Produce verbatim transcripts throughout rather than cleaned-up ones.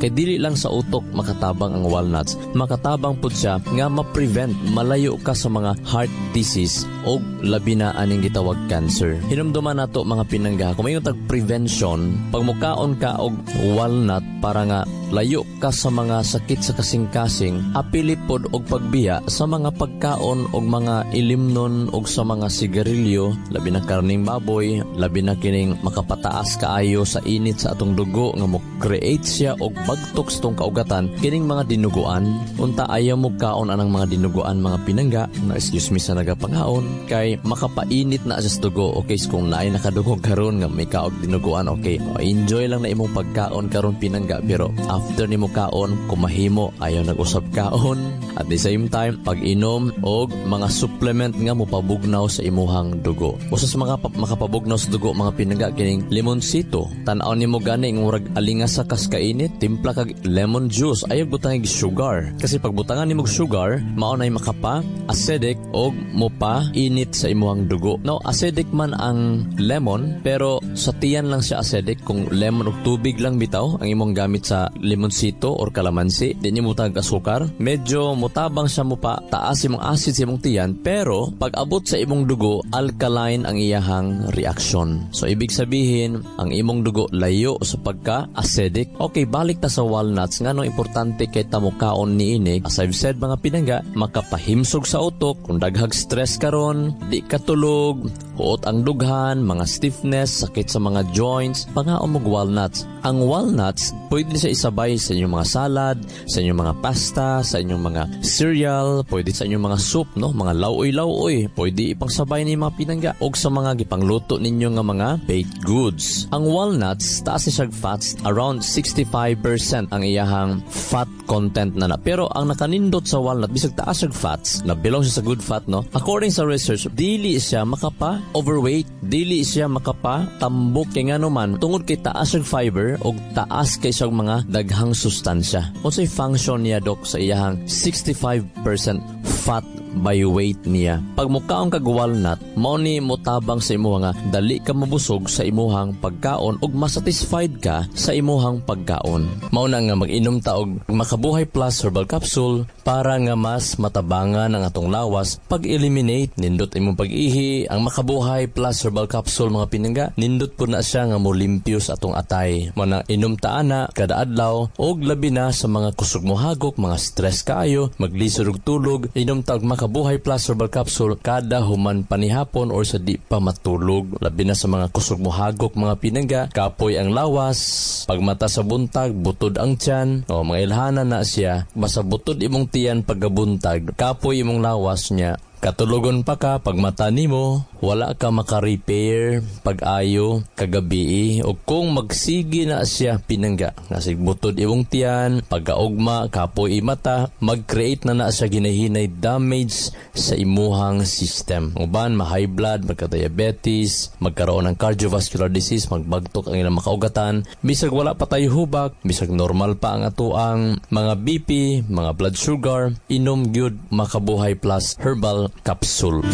Kay dili lang sa utok makatabang ang walnuts, makatabang pud siya nga ma-prevent malayo ka sa mga heart disease o labi na aning gitawag cancer. Hinumduman nato mga pinangga, kung mayon tag prevention, pag mukaon ka og walnut para nga layo ka sa mga sakit sa kasing-kasing, apili pod og pagbiya sa mga pagkaon og mga ilimnon og sa mga sigarilyo, labi na karning baboy, labi na kining makapataas kaayo sa init sa atong dugo nga mo create siya og bagtok sa atong kaugatan kining mga dinuguan. Unta ayaw mo kaon anang mga dinuguan mga pinangga, na excuse me sa nagapangaon kay makapainit na siya sa dugo. Okay, so kung naay nakadungog karon nga may kaog dinuguan, okay, o, enjoy lang na imong pagkaon karon pinangga, pero after nimo kaon kumahimo ayaw nag-usab kaon. At the same time, pag-inom og mga supplement nga mopabugnaw sa imuhang dugo. Usa sa mga pa- makapabugnaw sa dugo mga pinangga kining limonsito. Tan-aw nimo gani nga murag alingas sa kas kainit, timpla kag lemon juice, ayaw butangig sugar. Kasi pag butangan nimo og sugar, mao nay makapa acidic og mopa init sa imuhang dugo. No, acidic man ang lemon pero sa tiyan lang siya acidic. Kung lemon og tubig lang bitaw ang imong gamit sa limonsito or kalamansi, di nimo butang asukar, medyo mutabang siya mo pa taas imong acid sa imong tiyan, pero pag abot sa imong dugo, alkaline ang iyahang reaction. So ibig sabihin, ang imong dugo layo sa pagka acidic. Okay, balik ta sa walnuts. Nganong importante kay ta mokaon niini? As I've said mga pinangga, makapahimsog sa utok. Kung daghag stress karon, di ka tulog, huot ang dughan, mga stiffness, sakit sa mga joints, pangaon mo walnuts. Ang walnuts, pwede siya isabay sa inyong mga salad, sa inyong mga pasta, sa inyong mga cereal, pwede sa inyong mga soup, no? Mga lauoy-lauoy, pwede ipangsabay ni mga pinangga og sa mga gipangluto ninyo nga mga baked goods. Ang walnuts, taas ni siya fats, around sixty-five percent ang iyahang fat content na na. Pero ang nakanindot sa walnut, bisag taas siya fats, na belong siya sa good fat, no? According sa research, dili siya makapa overweight, dili siya makapa tambok kay ngano man tungod kay taas siya fiber og taas kay siyang mga daghang sustansya. Unsay function niya dok sa iyahang sixty-five percent fat by weight niya? Pag mukaon kag walnut, mao ni motabang sa imuha nga dali ka mabusog sa imuhang pagkaon ug masatisfied ka sa imuhang pagkaon. Mao na nga mag-inom ta og Makabuhay Plus Herbal Capsule para nga mas matabangan ang atong lawas pag-eliminate nindot imong pag-ihi. Ang Makabuhay Plus Herbal Capsule mga pinangga, nindot po na siya nga molimpyo sa atong atay. Mao na inom ta ana kada adlaw og labi na sa mga kusog mohagok, mga stress kaayo, maglisod og tulog, inom ta og Makabuhay Plus Herbal Capsule kada human panihapon or sa di pa matulog. Labi na sa mga kusog mohagok mga pinangga, kapoy ang lawas, pagmata sa buntag, butod ang tiyan, o mga ilhanan na siya, basta butod imong tiyan pagkabuntag, kapoy imong lawas niya, katulogon pa ka pagmata nimo, wala ka maka-repair pag-ayo kagabi. O kung magsige na siya pinangga, nga butod imong tiyan, pagkaugma, kapoy imata, mag-create na na siya ginahinay damage sa imuhang system. Uban, ma-high blood, magka-diabetes, magkaroon ng cardiovascular disease, magbagtok ang ilang makaugatan, bisag wala pa tayo hubak, bisag normal pa ang atoang mga B P, mga blood sugar, inom gyud Makabuhay Plus Herbal Capsule.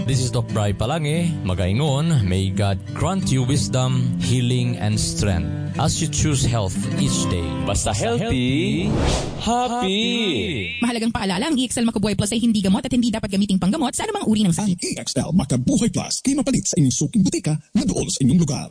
This is Doc Bry Palange, magaingon, may God grant you wisdom, healing, and strength as you choose health each day. Basta healthy, happy! Mahalagang paalala, ang E X L Makabuhay Plus ay hindi gamot at hindi dapat gamiting panggamot sa anumang uri ng Ang sakit. E X L Makabuhay Plus kay mapalit sa inyong suking butika na dool sa inyong lugar.